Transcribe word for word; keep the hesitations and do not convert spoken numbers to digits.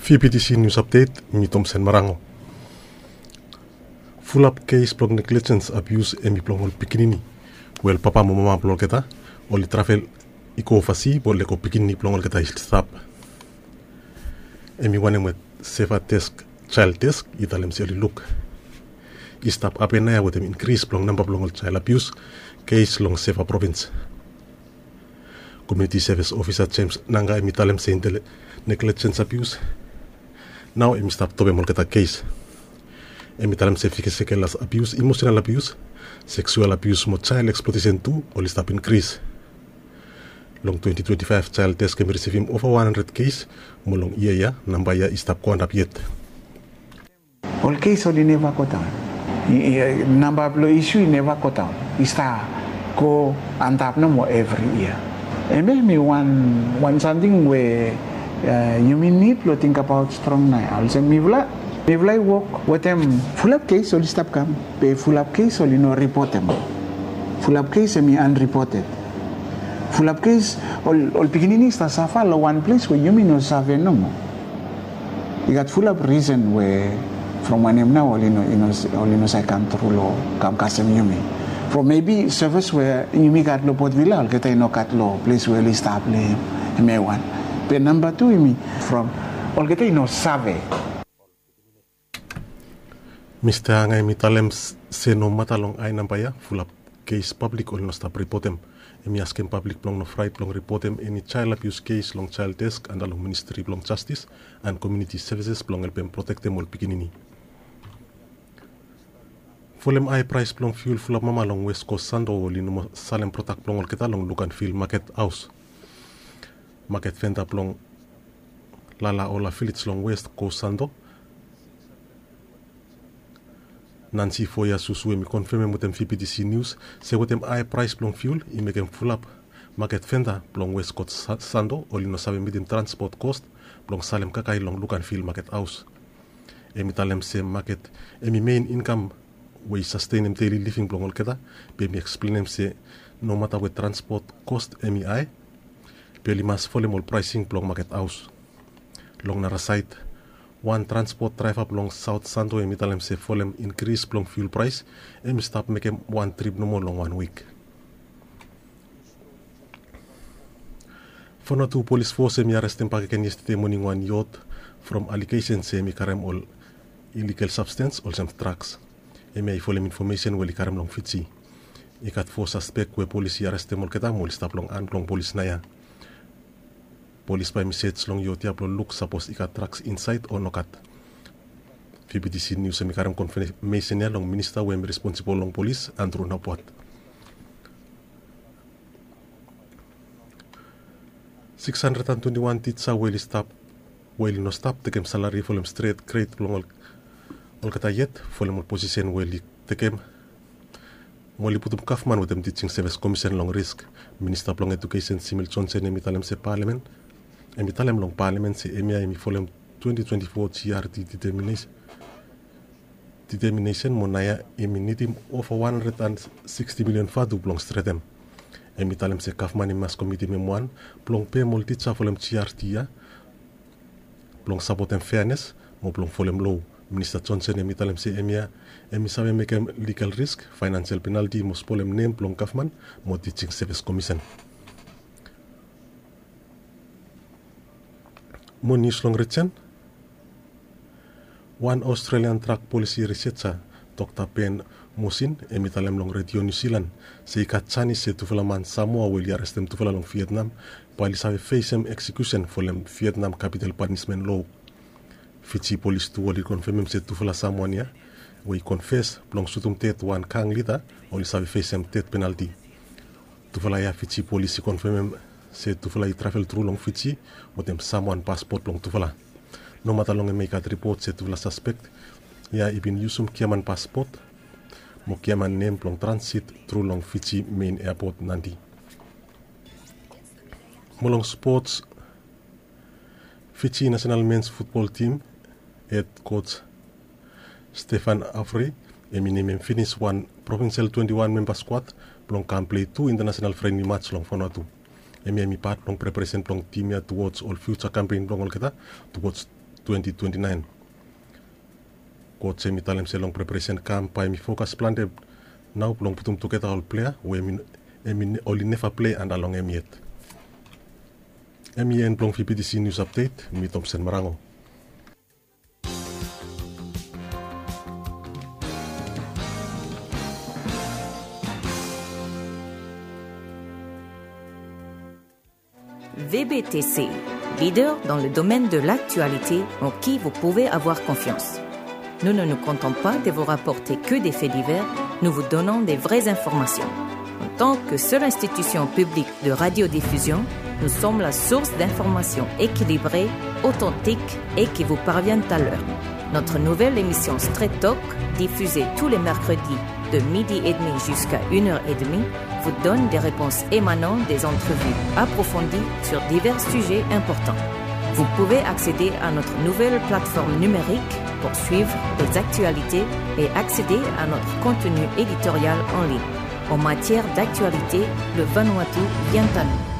Fibitisi nius apdet, mi Tomsen Marango. Fulap kes blong neglijens abius hemi blong ol pikinini we ol papa mo mama blong olgeta oli travel i go ovasi mo lego pikinini blong olgeta i stap. Hemi wanem we Seva Desk, Child Desk i talem se oli luk i stap hapen naoia wetem inkris blong namba blong ol child abius kes long Seva provins. Komuniti sevis ofisa Jems Nanga hemi talem se intel neglijens abius nao hemi stap topem olgeta kes. Hemi talem se fizikel abius, imosenal abius, seksual abius mo child eksplotesen tu oli stap inkris. Long twenti twenti faef Child Desk hemi risivim ova wan handred kes, mo long yia ya namba ya i stap go antap yet. Ol kes oli neva go daon. Namba blong isu i neva go daon, i stap go antap nomo evri yia. Hemia hemi wan wan samting we yumi nid blong tingbaot strong naoia olsem mifala mifala i wok wetem fulap kes oli stap kam, be fulap kes oli no ripotem. Fulap kes hemi anripoted. Fulap kes ol pikinini i stap safa long wan ples we yumi no save nomo. I gat fulap risen we from wanem nao oli no save kam tru long kam kasem yumi. From mebi sevis we yumi gat long Port Vila olgeta i no gat long ples we oli stap long hem. Hemia i wan. Be namba tu yumi from olgeta i no save. Mista Anga hemi talem se nomata long ae namba ya fulap kes pablik oli no stap ripotem. Hemi askem pablik blong no fraet blong ripotem eni child abius kes long Child Desk anda long Ministri blong Jastis and Komuniti Sevises blong helpem protektem ol pikinini. Folem ae praes blong fiul fulap mama long West Kos Santo oli no moa salem prodak blong olgeta long luk and fil maket haos. Maket venda blong Lalaola Vilej long West Kos Santo, Nansi Foya Susu hemi konfemem wetem Fibitisi Nius se wetem ae praes blong fiul i mekem fulap maket venda blong West Kos Santo oli no save mitim transpot kos blong salem kakae long luk and fil maket haos. Hemi talem se maket hemi mein inkam we i sastenem deli living blong olgeta. Be hemi eksplenem se nomata we transpot kos hemi ae, be oli mas folem ol praesing blong maket haos. Long nara saed, wan transpot draeva blong Saot Santo hemi talem se folem inkris blong fiul praes hemi stap mekem wan trip nomo long wan wik. Fonatu Polis Fos hemi arestem bakegen yestede moning wan yot from alegesen se hemi karem ol iligal sabstens olsem draks. Hemia i folem infomesen we oli karem long Fiji. I gat fo saspek we polis i arestem olgeta mo oli stap long han blong polis naoia. Polis bae hemi sej long yot ya blong luk sapos i gat draks insaed o nogat. Fibitisi Nius hemi karem konfamesen ya long minista we hemi responsibol long polis, Andrew Napuat. Siks handred and twenti wan tija we oli stap we oli no stap tekem salari folem stret gred blong olgeta yet folem ol posisen we oli tekem mo oli putum gavman wetem Tijing Sevis Komisen long risk. Minista blong Ejukesen Simil Jonsen hemi talem se palamen hemi talem long palamen se hemia hemi folem twenti twenti fo GRT diteminesen mo naoia hemi nidim ova wan handred and siksti milion vatu blong stretem. Hemi talem se gavman hemi mas komitim hem wan blong pem ol tija folem GRT ya blong sapotem feanes mo blong folem loa. Minista Jonsen hemi talem se hemia hemi save mekem ligal risk, faenansel penalti mo spolem nem blong gavman mo Tijing Sevis Komisen. Mo nius long rijen. Wan Australian drag polisi riseja, Dokta Ben Mosin, hemi talem long redio Niu Silan se i gat janis se tufala man Samoa we oli arestem tufala long Vietnam bae oli save fesem eksekusen folem Vietnam kapital panismen loa. Fiji polis tu oli konfemem se tufala Samoan ya we i konfes blong sutum ded wan gang lida oli save fesem ded penalti. Tufala ya Fiji polis i konfemem se tufala i travel tru long Fiji wetem Samoan paspot blong tufala. Nomata long hemia i gat ripot se tufala saspek ya i bin yusum giaman paspot mo giaman nem blong transit tru long Fiji mein eapot Nadi. Mo long spots, Fiji nasenal mens futbol tim hed koj Stefan Avery hemi nemem finis wan provinsel twenti wan memba skuad blong kam plei tu intanasenal frenli maj long Vanuatu. Hemia hemi pat blong preparesen blong tim ya tuwoj ol fiuja kampen blong olgeta tuwoj twenty twenty-nine. Coach hemi talem se long preparation camp bae hemi fokas plante nao blong putum tugeta ol plea we hemi, hemi ne-, oli neva plei anda long hem yet. Hemia en blong V B T C News Update, mi Thompson Marango. V B T C, leader dans le domaine de l'actualité en qui vous pouvez avoir confiance. Nous ne nous contentons pas de vous rapporter que des faits divers, nous vous donnons des vraies informations. En tant que seule institution publique de radiodiffusion, nous sommes la source d'informations équilibrées, authentiques et qui vous parviennent à l'heure. Notre nouvelle émission Straight Talk, diffusée tous les mercredis de midi et demi jusqu'à une heure et demie, vous donne des réponses émanant des entrevues approfondies sur divers sujets importants. Vous pouvez accéder à notre nouvelle plateforme numérique pour suivre les actualités et accéder à notre contenu éditorial en ligne. En matière d'actualité, le Vanuatu vient à nous.